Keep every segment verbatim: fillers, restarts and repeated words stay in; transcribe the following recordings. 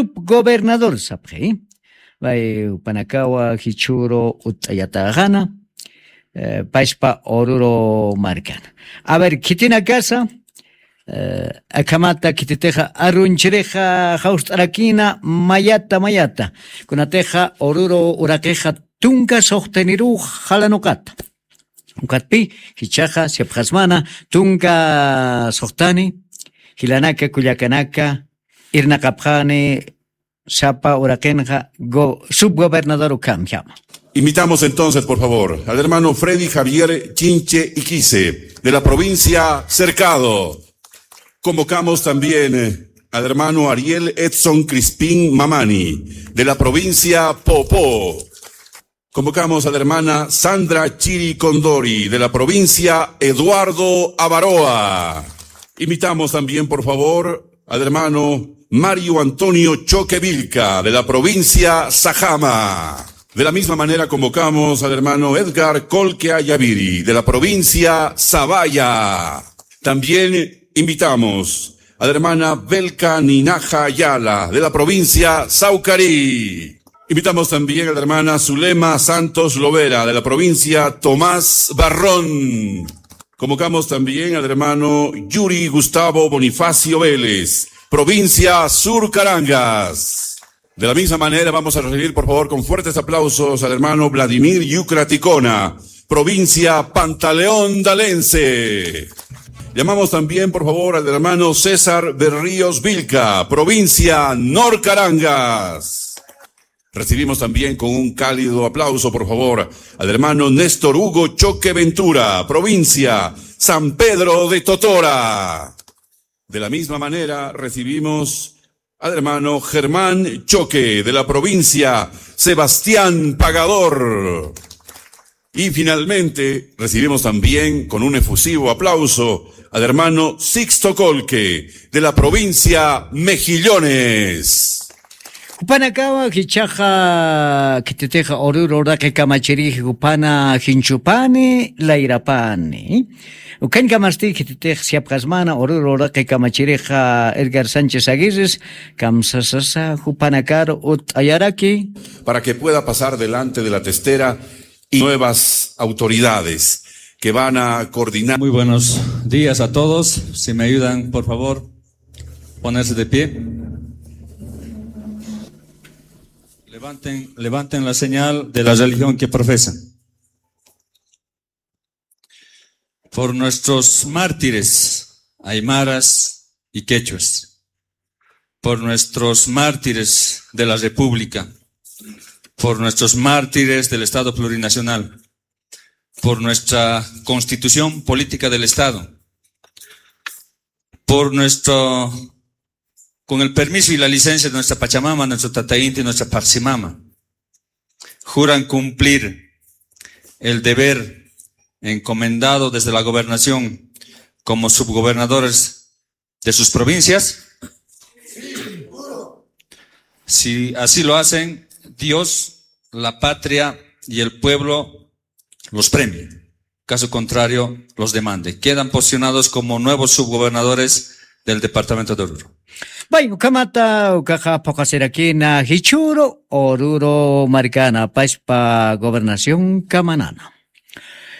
Subgobernador sapxi. Bay, jupanakawa jichhüru utt'ayatäxana, eh, pachpa Oruro markana. A ver, khitinakasa, eh, akhamata khititixa arunchirixa jawst'arakïna mayata mayata. Kunatixa Oruro uraqixa tunka suxtaniruw jalanuqata. Ukatpï, jichhaxa siyapxasmana tunka suxtani, jilanaka, kullakanaka, irnaqapxani sapa uraqinxa go-, subgobernador ukhamjama. Invitamos entonces, por favor, al hermano Freddy Javier Chinche Iquice, de la provincia Cercado. Convocamos también, eh, al hermano Ariel Edson Crispín Mamani, de la provincia Popó. Convocamos a la hermana Sandra Chiri Condori, de la provincia Eduardo Avaroa. Invitamos también, por favor, al hermano Mario Antonio Choque Vilca, de la provincia Sajama. De la misma manera, convocamos al hermano Edgar Colque Ayaviri, de la provincia Zavalla. También invitamos a la hermana Belka Ninaja Ayala, de la provincia Saucarí. Invitamos también a la hermana Zulema Santos Lovera, de la provincia Tomás Barrón. Convocamos también al hermano Yuri Gustavo Bonifacio Vélez, provincia Sur Carangas. De la misma manera, vamos a recibir, por favor, con fuertes aplausos al hermano Vladimir Yucra Ticona, provincia Pantaleón Dalense. Llamamos también, por favor, al hermano César Berríos Vilca, provincia Nor Carangas. Recibimos también con un cálido aplauso, por favor, al hermano Néstor Hugo Choque Ventura, provincia San Pedro de Totora. De la misma manera, recibimos al hermano Germán Choque, de la provincia Sebastián Pagador. Y finalmente, recibimos también con un efusivo aplauso al hermano Sixto Colque, de la provincia Mejillones. Jupanakawa jichhaxa khititixa Oruro uraqi kamachirix jupana jinchupani, layrapani. Ukhañkamasti khititix siyapxasmana Oruro uraqi kamachirixa Edgar Sánchez Aguirres, kamsasasa jupanakar utt'ayaraki. Para que pueda pasar delante de la testera y nuevas autoridades que van a coordinar. Muy buenos días a todos. Si me ayudan, por favor, ponerse de pie. Levanten, levanten la señal de la religión que profesan. Por nuestros mártires, aymaras y quechuas. Por nuestros mártires de la República. Por nuestros mártires del Estado plurinacional. Por nuestra Constitución Política del Estado. Por nuestro, con el permiso y la licencia de nuestra Pachamama, nuestro Tata Inti, nuestra Pachamama, juran cumplir el deber encomendado desde la gobernación como subgobernadores de sus provincias. Si así lo hacen, Dios, la patria y el pueblo los premie. Caso contrario, los demande. Quedan posicionados como nuevos subgobernadores del departamento de Oruro. Bueno, ukhamata, ukaxa phuqasirakïna jichhüru Oruro markana, pachpa gobernación kamanana.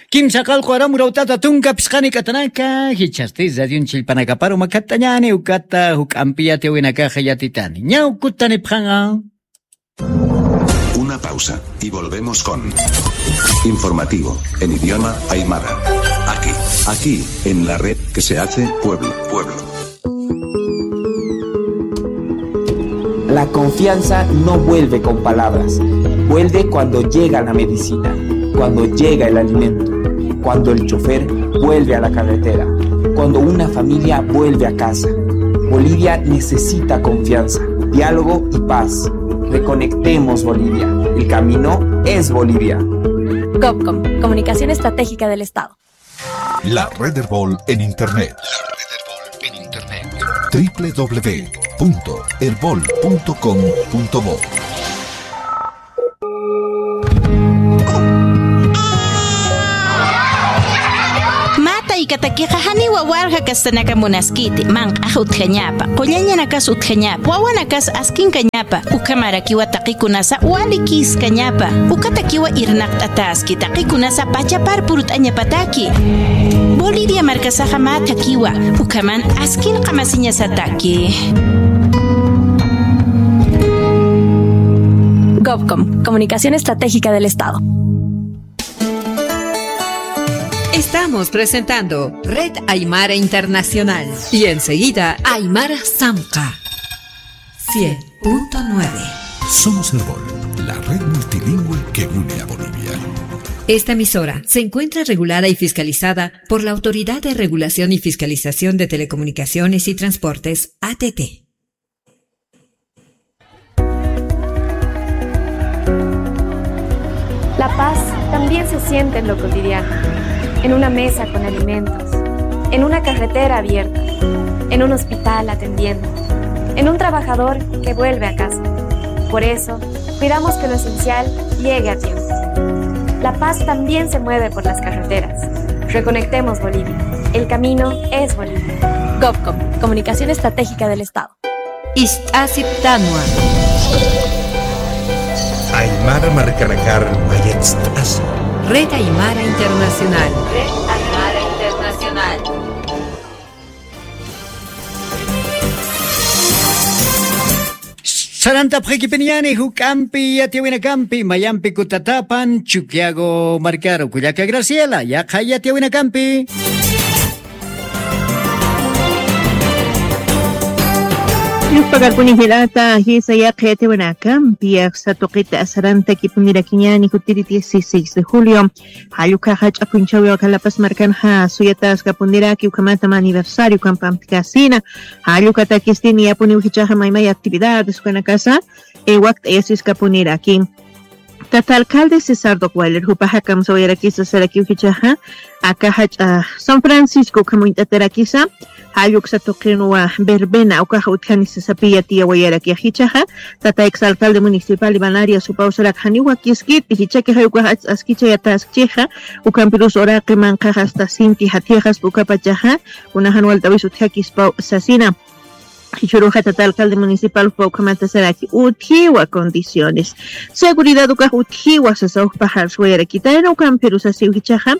Kimsa qallqu aram urawtata tunka phisqani k'atanaka, jichhasti radion chillpanakaparu makhatt'añäni, ukata juk'ampi yatiyäwinakaxa yatitani. Ñawkutanipxaña. Una pausa y volvemos con informativo en idioma aymara. Aquí, aquí, en la red que se hace pueblo, pueblo. La confianza no vuelve con palabras, vuelve cuando llega la medicina, cuando llega el alimento, cuando el chofer vuelve a la carretera, cuando una familia vuelve a casa. Bolivia necesita confianza, diálogo y paz. Reconectemos Bolivia. El camino es Bolivia. Copcom, Comunicación Estratégica del Estado. La red Erbol en Internet. La red Erbol en Internet. Triple w punto erbol punto com punto bo. Mata y Cataquí. Iqa janiwa walja kastanaka munaskiti, manq'ax utjañapa, qullañanakas utjañapa, wawanakas askinkañapa, ukhamarakiwa taqikunasa walikiskañapa, ukatakiwa irnaqt'ataski, taqikunasa pachapar purt'añapataki. Bolivia markasaxa mä thakiwa, ukhaman askin qamasiñasataki. Govcom, Comunicación Estratégica del Estado. Estamos presentando Red Aymara Internacional y enseguida Aymara Samqa. Cien punto nueve. Somos Erbol, la red multilingüe que une a Bolivia. Esta emisora se encuentra regulada y fiscalizada por la Autoridad de Regulación y Fiscalización de Telecomunicaciones y Transportes, A T T. La paz también se siente en lo cotidiano, en una mesa con alimentos, en una carretera abierta, en un hospital atendiendo, en un trabajador que vuelve a casa. Por eso, cuidamos que lo esencial llegue a tiempo. La paz también se mueve por las carreteras. Reconectemos Bolivia. El camino es Bolivia. Govcom, Comunicación Estratégica del Estado. Ist'asiptanwa. Aymara markanakar mayatst'asi. Red Aymara Internacional. Red Aymara Internacional. Sarantapxakipiniñani juk'ampi yatiyawinakampi, mayampi kutatapan, Chukiyago markaru, kullaka Graciela, yaqha yatiyawinakampi. Yuspagarpuni jilata, jisa yaqha yatiyawinakampi, aksa tuqita sarantakipunirakiñani jutiri dieciséis de julio. Jallukhaxa ch'apunchawi waka La Paz markanxa suyataskapuniraki, ukhamata mä aniversario ukham pamtkasina. Jallukatakisti niyapuniw jichhaxa maymay actividades ukanakasa, eh, wakt'ayasiskapuniraki. Tata alcalde César Docweiler jupaxa kamsawayarakisa sarakiw jichhaxa, aka jach'a San Francisco ukham uñt'atarakisa, jall uksa tuqinwa verbena ukaxa utjani sasapi yatiyawayarakixa jichhaxa, tata ex alcalde municipal Iván Arias jupaw sarak janiw wakiskiti, jichhakixay ukax askichayataskchixa, ukampirus uraqi manqhax hasta sinti jathiqaspa ukapachaxa, kuna jan walt'awis utjakispaw sasina. Jichhüruxa tata alcalde municipal jupaw ukhamata saraki utjiwa condiciones. Seguridad ukax utjiwa sasa uk pajar suwayarakitayna ukampirus sasiw jichhaxa.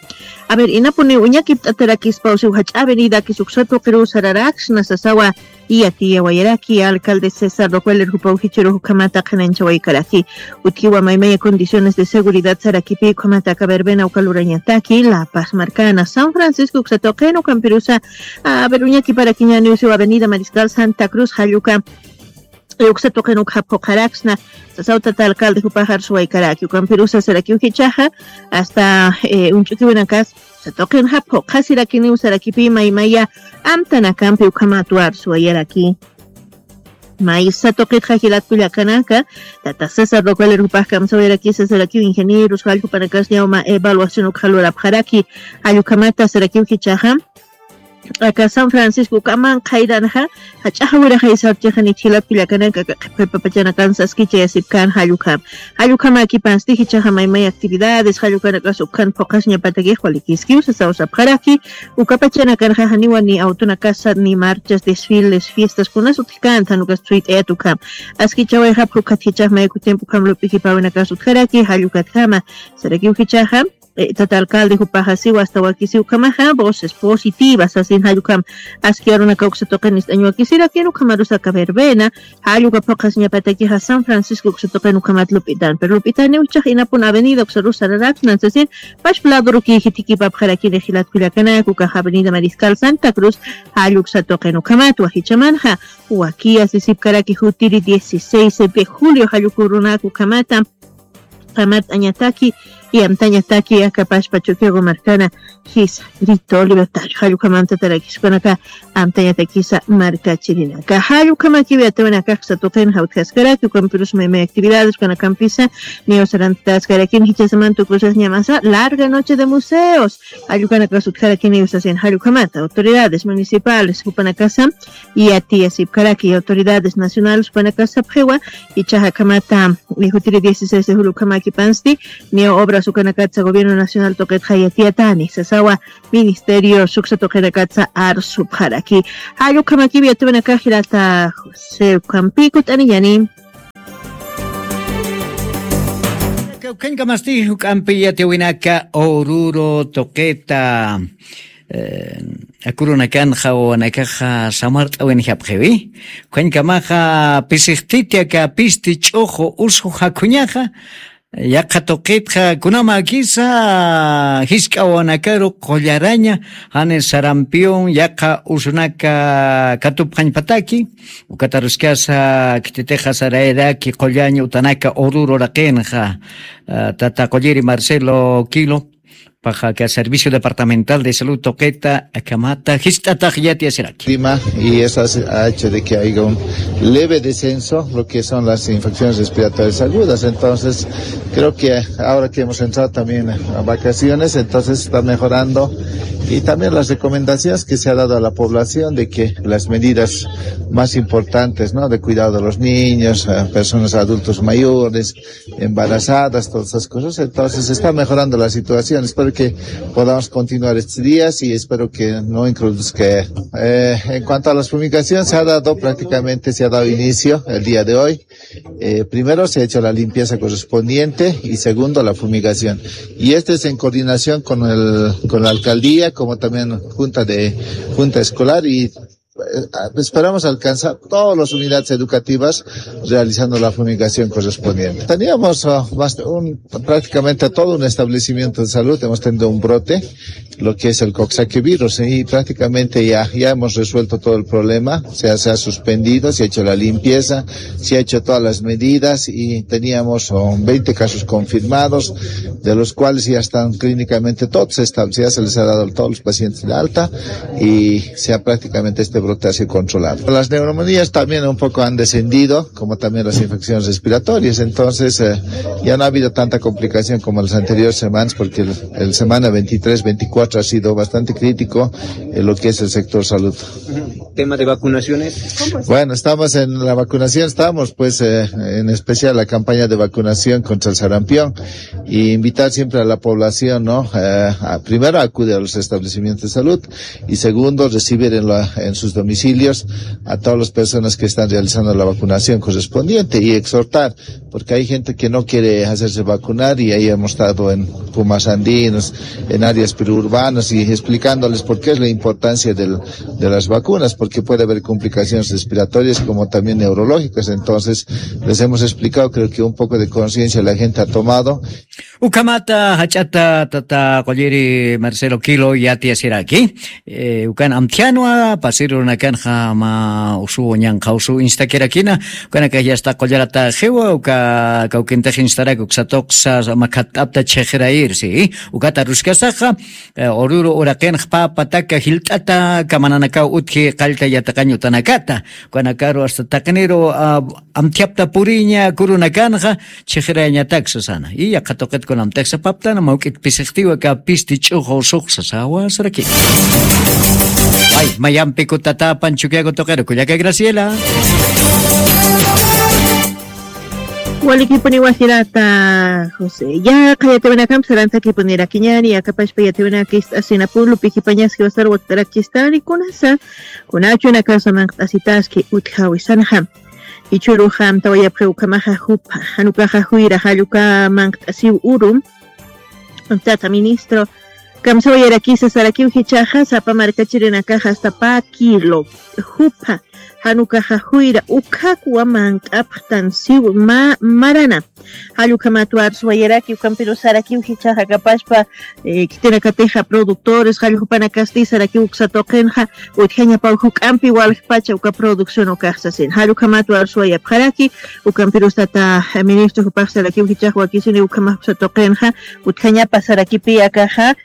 A ver, inapuniw uñakipt'atarakispaw siw jach'a avenidakis uksa tuqiruw sararaksna sasawa, yatiyawayaraki alcalde César Docweiler jupaw jichhürux ukhamata qhanañchawaykaraki. Utjiwa maymaya condiciones de seguridad sarakipi ukhamata aka verbena uka lurañataki, La Paz markana, San Francisco uksa tuqin ukampirusa, a ver, uñakiparakiñaniw siw avenida Mariscal Santa Cruz, jall uka uksa tuqin ukxa phuqharaksna, sasaw tata alcalde jupax arsuwaykaraki, ukampirusa sarakiw jichhaxa, hasta, eh, uñch'ukiwinakas, uksa tuqinxa phuqhasirakiniw sarakipi maymaya amtanakampi ukhamat arsuwayaraki. Maysa tuqitxa jilat kullakanaka, tata César Docweiler jupax kamsawayarakisa sarakiw ingenieros, jall jupanakas ñawma evaluación ukxa lurapxaraki, jall ukhamata sarakiw jichhaxa, aka San Francisco ukaman qhayranxa, jach'a jawiraxay sarchixanit jilat kullakanaka, aka qhipqipapachanakan saskichayasipkän jall ukham. Jall ukhamäkipansti jichhaxa maymay actividades, jall ukanakas ukhan phuqhasiñapatakix walikiskiw sasaw sapxaraki, ukapachanakanxa janiwa ni autonakasa, ni marchas, desfiles, fiestas, kunas utjkänti, jan ukas suyt'ayat ukham. Askichawayxapx ukat jichhax mayku tiempo ukham lup'ikipäwinakas utjaraki, jall ukatjama, sarakiw jichhaxa, eh, tata alcalde jupaxa siwa hasta wakisiw ukhamaxa, voces positivas, sasin jall ukham aski arunaka uksa tuqin ist'añ wakisirakin, ukhamarusa aka verbena, jall uka phuqhasiñapatakixa San Francisco uksa tuqin ukhamat lup'itan. Pero lup'itaniw jichhax inapun avenida uksarus sararaksnan sasin, pachpa ladorukiy jitikipapxarakini jilat kullakanaka, ukax avenida Mariscal Santa Cruz, jall uksa tuqin ukhamatwa jichhamanxa, wakiyasisipkaraki jutiri dieciséis de julio, jall uka urunaka ukhamata, qhamat'añataki, y amtañataki, aka pachpa Chukiyago markana, jisa, Grito Libertario, jall ukhamantataraki, ukanaka, amtañatakisa markachirinaka. Jall ukhamakiw yatiyawinakax uksa tuqin jawtjaskaraki, ukampirus maymay actividades ukanakampisa, niyaw sarantaskarakini jichhasaman tukusas ñamasa, larga noche de museos, jall ukanakas utjarakiniw sasin jall ukhamata, autoridades municipales, jupanakasa, yatiyasipkaraki, autoridades nacionales, jupanakasa sapxiwa, jichhaxa akhamata, eh, jutiri dieciséis de julio ukhamäkipansti, niyaw obra ukanakatsa gobierno nacional tuqitxa yatiyatani sasawa ministerio suksa tuqinakatsa arsupxaraki. Jall ukhamakiw yatiyawinakax jilata José, ukampi kut'aniyani. Kawkhañkamasti juk'ampi yatiyawinaka Oruro tuqita. Akurunakanxa wawanakaxa samart'awinjapxiwi. Khuñkamaxa pisixtiti aka pisti ch'uxu usu jakhuñaxa yaqha tuqitxa kunamakisa jisk'a wawanakaru qullaraña jani sarampion yaqha usunaka katupxañpataki. Ukataruskasa khititixa sarayaraki qullaña utanaka ururu raqinxa tata qulliri Marcelo Quilo. Paxa aka servicio departamental de salud tuqita akamata jist'atax yatiyasiraki. Clima y eso hace- ha hecho de que haya un leve descenso lo que son las infecciones respiratorias agudas. Entonces creo que ahora que hemos entrado también a vacaciones, entonces está mejorando. Y también las recomendaciones que se ha dado a la población de que las medidas más importantes, ¿no? De cuidado de los niños, a personas adultos mayores, embarazadas, todas esas cosas. Entonces está mejorando la situación. Espero que podamos continuar estos días y espero que no introduzca. Eh, en cuanto a las fumigaciones, se ha dado prácticamente, se ha dado inicio el día de hoy. Eh, primero se ha hecho la limpieza correspondiente y segundo la fumigación. Y este es en coordinación con el, con la alcaldía, como también junta de, junta escolar y eh, esperamos alcanzar todas las unidades educativas realizando la fumigación correspondiente. Teníamos ah, más de un, prácticamente todo un establecimiento de salud, hemos tenido un brote, lo que es el coxsackie virus, y prácticamente ya, ya hemos resuelto todo el problema, se ha, se ha suspendido, se ha hecho la limpieza, se ha hecho todas las medidas y teníamos oh, veinte casos confirmados, de los cuales ya están clínicamente todos, se, está- ya se les ha dado todos los pacientes de alta y se ha prácticamente este brote ha sido controlado. Las neumonías también un poco han descendido, como también las infecciones respiratorias, entonces eh, ya no ha habido tanta complicación como las anteriores semanas, porque el, el semana veintitrés, veinticuatro ha sido bastante crítico en lo que es el sector salud. Tema de vacunaciones. Bueno, estamos en la vacunación, estamos pues eh, en especial la campaña de vacunación contra el sarampión y invitar siempre a la población, ¿no? Eh, a- primero acude a los establecimientos de salud y segundo recibir en, la- en sus domicilios a todas las personas que están realizando la vacunación correspondiente y exhortar, porque hay gente que no quiere hacerse vacunar y ahí hemos estado en Pumas Andinos, en áreas periurbanas y explicándoles por qué es la importancia del- de las vacunas, porque puede haber complicaciones respiratorias como también neurológicas. Entonces, les hemos explicado, creo que un poco de conciencia la gente ha tomado. Ukhamata jach'ata tata qulliri Marcelo Quilo yatiyasiraki. Eh, ukan amthianwa pasir runakanxa ma usu ñanqha usu instakirakina. Ukanaka yasta qullarata xiwa uka kawkintix instarak uksatuqsa makhat'apta chhiqirayir si. Ukata ruskasaxa eh, ururu uraqinx papa taka jilt'ata kamananakaw utji qallta yataqañ utanakata. Ukanakaru hasta taqiniru ah, amthiapta puriña kurunakanxa chhiqirayañatak sasana. Y yaqha tuqit kunamtixsa paptana mawk'it pisixtiwa ka pisti ch'uxu sux sasawa saraki. Ay, mayampi kutatapan chukiaku tuqiru kullaka Graciela. Walikipuni wajirata José. Ya, qhayatiwinakam sarantakipunirakiñani, akapashpa yatiwinakist'asina pulupi jipañas jiwasar wakt'arakistani kunasa, kunachunakasa manqt'asitaski utjawisanxa. Ichuruxa amtawayapxi ukhamaxa jupha, janukaxa juyra jalluka manqt'asiw uru. Tata ministro, kamsawayarakisa sarakiw jichhaxa sapa markachirinakaxa hasta pä kilo jupha, janukaxa juyra ukhakwa manq'apxtan siw ma marana. Jall ukhamat warsuwayaraki ukampiru sarakiw jichhaxa kapashpa eh, khitinakatixa productores jall jupanakasti sarakiw uksa tuqinxa utjañapaw juk'ampi waljpacha uka producción ukax sasin. Jall ukhamat warsuwayapxaraki ukampirus tata ministro jupax sarakiw jichhax wakisini ukhamax uksa tuqinxa utjañapa sarakipi akaxa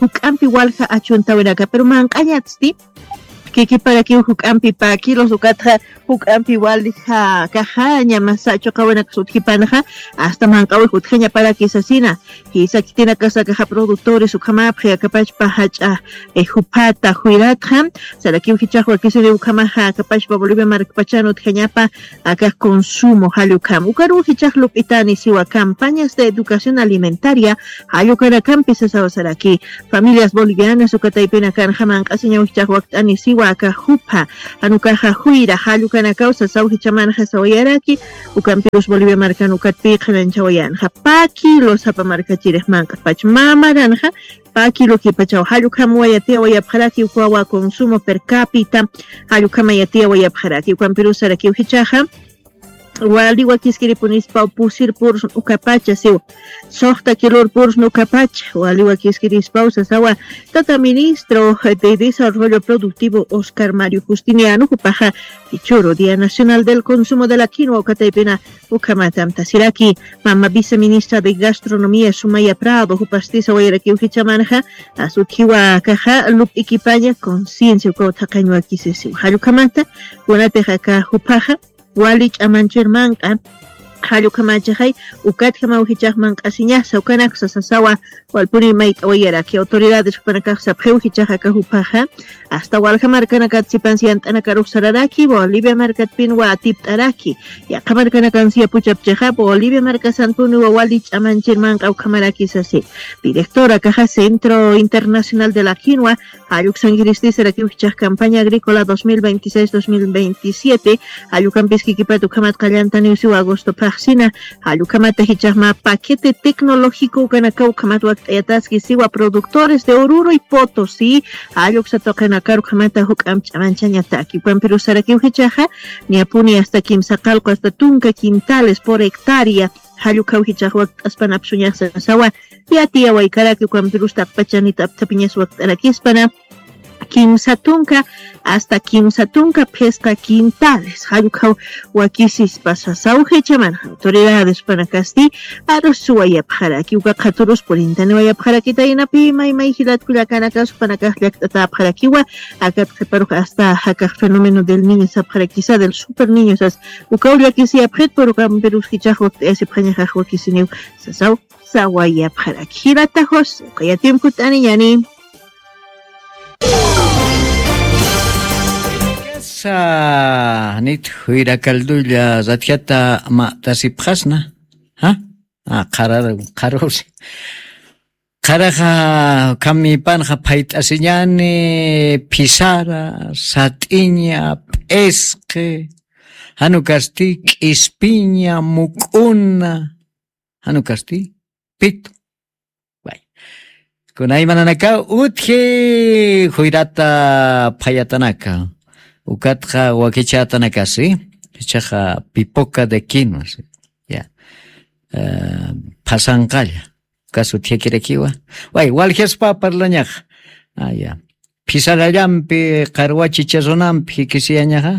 juk'ampi walja achuntawinaka, pero manq'añatsti kikiparakiw juk'ampi pakilos ukatxa juk'ampi walixa kaxaña masachu qawinaksa utjipanxa, asta manq'awix utjañaparaki sasina. Jisa kitinakasa kaxa productores ukhamapxi akapachpa jach'a juphata juyratxa, sarakiw jichax wakisiri ukhamaxa akapachpa Bolivia markpachan utjañapa aka consumo jallukam ukaruw jichax lup'itani siwa campañas de educación alimentaria jallukanakampi sasaw saraki. Familias bolivianas ukataypinakanxa manq'asiñaw jichax wakt'ani siwa aka jupha janukaxa juyra jallukanakaw sasaw jichamanxa sawayaraki. Ukampirus Bolivia markan ukatpï qhananchawayanxa pa kilo sapa markachirix manq'apach mamaranxa pa kilo kipachaw jallukhamwa yatiyawayapxaraki ukwawa consumo per capita. Jallukhamay yatiyawayapxaraki ukampirus sarakiw jichaxa wali wakiskiripunispaw pusir purus ukapacha siw soxta kilur purus ukapacha wali wakiskirispaw sasawa tata ministro de desarrollo productivo Oscar Mario Justiniano jupaxa ichuru día nacional del consumo de la quinua ukataypina. Ukhamatam tasiraki mama viceministra de gastronomía Sumaya Prado jupastisa wayarakiw jichamanxa asutjiwa kaxa lup'ikipaña conciencia ukaw thaqañ wakisisiw jallukamata. Kunatixa ka jupaxa wali ch'amanchir manq'a jallukhamachixay ukatjamaw jichax manq'asiñasa ukanaksa sasawa. Walpuni mayt'awayaraki autoridades jupanakax sapxiw jichaxa ka jupaxa asta walja markanakat sipansi yant'anakarux sararaki bolivia markatpinwa atipt'araki. Yaqha markanakansi yapuchapchixa bolivia markasanpuniwa wali ch'amanchir manq'a ukhamaraki sasi. Directora kaxa centro internacional de la quinua jalluksankiristi sarakiw jichax campaña agrícola dos mil veintiséis dos mil veintisiete. Jallukampis kikipat ukhamat qallantaniw siwa agosto phaxsina. Jallukhamata jichaxma paquete tecnológico ukanakaw ukhamat wakt'ayataski siwa productores de oruro y poto si. Jalluksa tuqinakar ukhamata juk'amp ch'amanchañataki ukampirus sarakiw jichaxa niyapuni asta kimsa qalqu asta tunka quintales por hectárea. Jallukhaw jichax wakt'aspanapsuñaxsa sawa yatiyawaykaraki ukampirus taqpachanit apthapiñas wakt'arakispana kimsa tunka asta kimsa tunka phisqa quintales jallukhaw wakisispa sasaw jichaman autoridades panakasti. Arus suwayapxaraki uka qhaturus purintaniwayapxarakita inapi maymay jilat kullakanakax panakax llakt'atäpxarakiwa. Akat qhiparux asta jakax fenómeno del niño sapxarakisa del super niño sas ukaw llakisiyapxit pero ukampirus jichax wakt'ayasipxañaxax wakisiniw sasaw sawayapxaraki jilata josé uka yatimpkut'aniñani. Sa nit juyra caldulla ratjata ma'tasipxasna. Ja qharar qharuri qharaxa khamipanxa phayt'asiñani phisara sat'iña p'isqi janukasti k'ispiña muk'una janukasti pitu. Kunaymananakaw utji juyrata phayatanaka ukatxa wakichätanakasi ichaxa pipoka de quinua si ya phasanqalla. Ukas utjakirakiwa way waljaspa parlañaxa aya phisarallampi qarwachicha runampi jikisiyañaxa.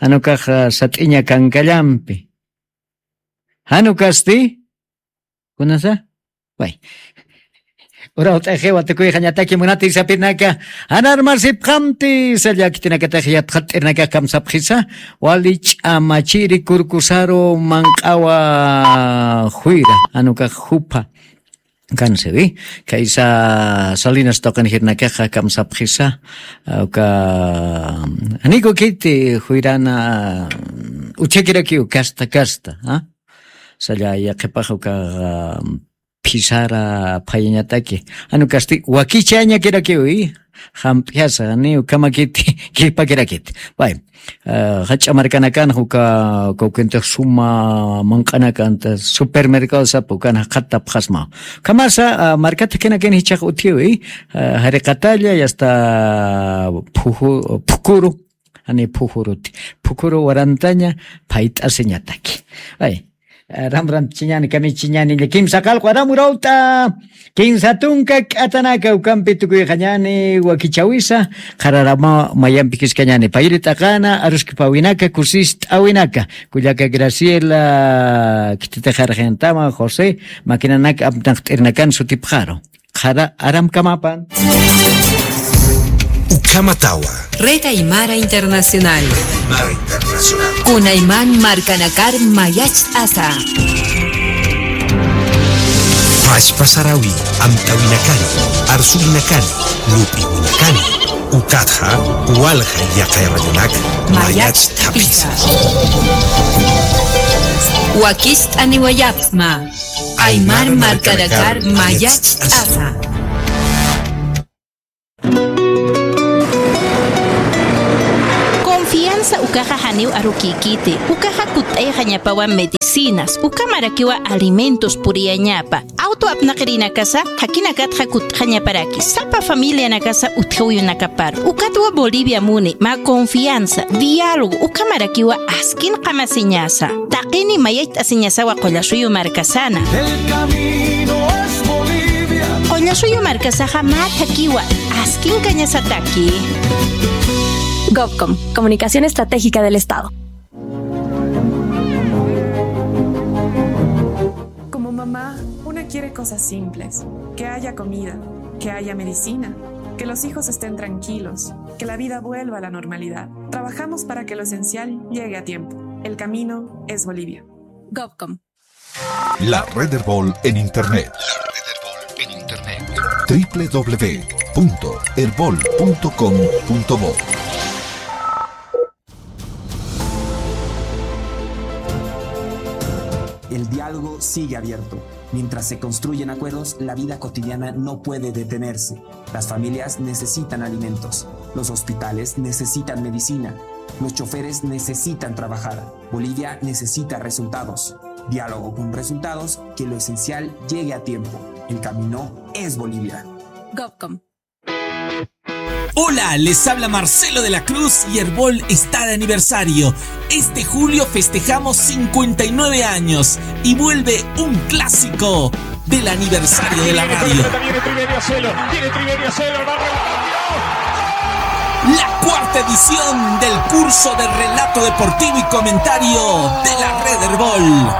Janukax sat'iña kankallampi janukasti kunasa way urawt'axiwa tukuyxañataki munati sapirnaka janarmasipxamti salla khitinakatax yatxat'irnakax kamsapxisa wali ch'amachiri kurkusaru manq'awa juyra janukax jupha kansiwi kaysa salinas tuqinjirnakaxa kamsapxisa uka janiku khiti juyrana utjakirakiw kasta kasta salla yaqhipax ukaxa phisara phayañataki janukasti wakichañakirakiwi jamp'yasa ni ukhamakiti kipakirakiti way jach'a markanakanxa uka kawkintix suma manq'anakanta supermercado sapa ukanxa qhatapxasmaw ukhamasa markatjakinakin jichhax utjiwi jariqatalla yasta phukuru jani phukuruti phukuru warantaña phayt'asiñataki. Ay aram rantichiñani kamichiñani kimsa qalqu aram urawt'a kinsa tunka k'atanaka ukampi tukuyxañani wakichawisa qhararama mayampi kiskañani payri t'aqana aruskipawinaka kusist'awinaka kullaka graciela khititixarxintama josé makinanaka apnaqt'irinakan sutipxaru qhara aramkamapan. Uk Ukhamatawa. Red Aymara Internacional. Aymara Internacional. Kunayman markanakar mayacht'asa. Pachpa sarawi, amtawinakani, arsuwinakani, lup'iwinakani. Ukatxa, walja yaqay radionak mayacht'apisa. Wakicht'aniwayapxsma. Aymar markanakar mayacht'asa. Confianza ukaxa janiw arukïkiti, ukaxa kutt'ayxañapawa medicinas, ukamarakiwa alimentos puriyañapa, auto apnaqirinakasa, jakinakatxa kutt'xañaparaki, sapa familianakasa utjawinakapar, ukatwa Bolivia muni, mä confianza, diálogo, ukamarakiwa askin qamasiñasa. Taqini mayacht'asiñasawa Qullasuyu markasana. El camino es Bolivia. Qullasuyu markasaxa mä thakiwa, askin kañasataki. Gobcom, Comunicación Estratégica del Estado. Como mamá, una quiere cosas simples, que haya comida, que haya medicina, que los hijos estén tranquilos, que la vida vuelva a la normalidad. Trabajamos para que lo esencial llegue a tiempo. El camino es Bolivia. Gobcom. La Red Erbol en Internet. La Red Erbol en Internet. W W W punto erbol punto com punto bo. El diálogo sigue abierto. Mientras se construyen acuerdos, la vida cotidiana no puede detenerse. Las familias necesitan alimentos. Los hospitales necesitan medicina. Los choferes necesitan trabajar. Bolivia necesita resultados. Diálogo con resultados, que lo esencial llegue a tiempo. El camino es Bolivia. Gobcom. Hola, les habla Marcelo de la Cruz y Erbol está de aniversario. Este julio festejamos cincuenta y nueve años y vuelve un clásico del aniversario de la radio. Viene Triverio Celo, viene Triverio Celo, el barrio. La cuarta edición del curso de relato deportivo y comentario de la Red Erbol.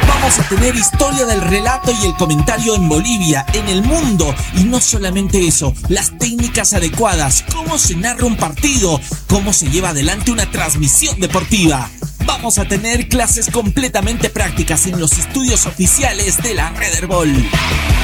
Vamos a tener historia del relato y el comentario en Bolivia, en el mundo, y no solamente eso, las técnicas adecuadas, cómo se narra un partido, cómo se lleva adelante una transmisión deportiva. Vamos a tener clases completamente prácticas en los estudios oficiales de la Red Erbol.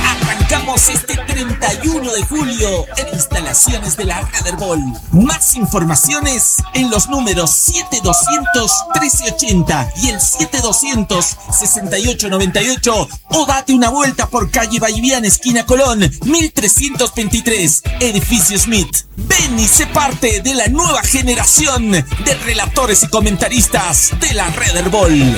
Arrancamos este treinta y uno de julio en instalaciones de la Red Erbol. Más informaciones en los números siete doscientos trece ochenta y el siete doscientos sesenta y ocho noventa y ocho, o date una vuelta por calle Ballivián, esquina Colón, mil trescientos veintitrés, edificio Smith. Ven y sé parte de la nueva generación de relatores y comentaristas de la Red Erbol.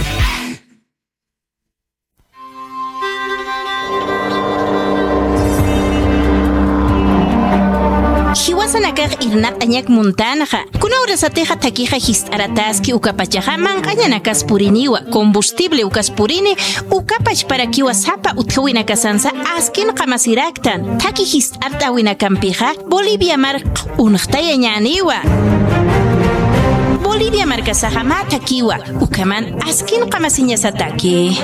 Jiwasanakax irnaq'añak muntanxa, kuna urasatixa thakixa jist'aratäski ukapachaxa manq'añanakas puriniwa, combustible ukas purini, ukapachparakiwa sapa utjawinakasansa askin qamasiraktan. Thaki jist'art'äwinakampixa Bolivia mark unxtayañäniwa. Bolivia markasaxa mä thakiwa, ukhaman askin qamasiñasataki.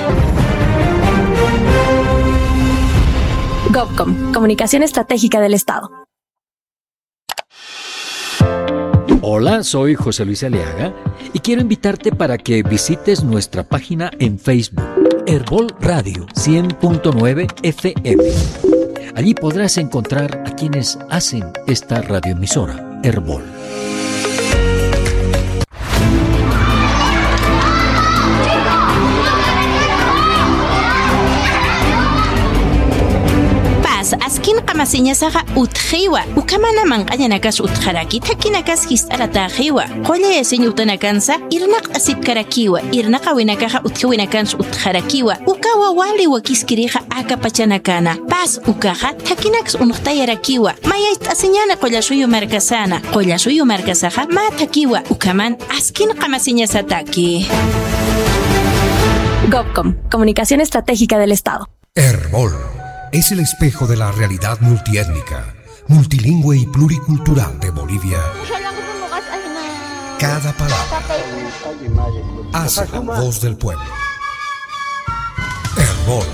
Gobcom, Comunicación Estratégica del Estado. Hola, soy José Luis Aliaga y quiero invitarte para que visites nuestra página en Facebook, Erbol Radio cien punto nueve F M. Allí podrás encontrar a quienes hacen esta radioemisora, Erbol. Paz, askin qamasiñasaxa utjiwa, ukhamana manq'añanakas utjaraki, thakinakas jist'aratäxiwa, qullayasiñ utanakansa irnaqt'asipkarakiwa, irnaqäwinakaxa utjawinakansa utjarakiwa, ukawa wali wakiskirixa aka pachanakana. Paz ukaxa thakinaks unxtayarakiwa, mayacht'asiñäni Qullasuyu markasana, Qullasuyu markasaxa mä thakiwa, ukhaman askin qamasiñasataki. Gobcom, Comunicación Estratégica del Estado. Erbol es el espejo de la realidad multiétnica, multilingüe y pluricultural de Bolivia. Cada palabra hace la voz del pueblo. Erbol,